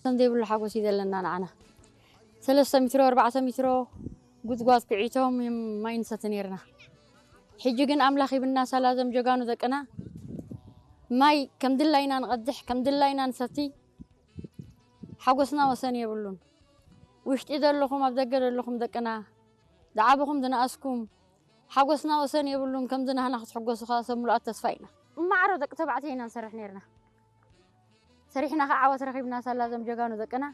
ከም ዘይብሉ ሓጎስ እዩ ዘለና ንዓና። ሰለስተ ሜትሮ ኣርባዕተ ሜትሮ ጉድጓድ ኩዒቶም እዮም ማይ ንሰቲ ነይርና። ሕጂ ግን ኣምላኽ ሂብና ሳላ ዘም ጀጋኑ ደቅና ማይ ከም ድላይና ንቐድሕ፣ ከም ድላይና ንሰቲ። ሓጎስና ወሰን የብሉን። ውሽጢ ዘለኹም፣ ኣብ ደገ ዘለኹም ደቅና፣ ዝዓበኹም ዝነኣስኩም፣ ሓጎስና ወሰን የብሉን። ከምዚ ናህና ክትሕጎሱ ከዓ ሰብ ምሉኣት ተስፋ ኢና። እማዕሮ ደቂ ተባዕትዮ ኢና ንሰርሕ ነይርና። ሰሪሕና ከዓ ዓወት ረኺብና ሳላ ዘም ጀጋኑ ደቅና።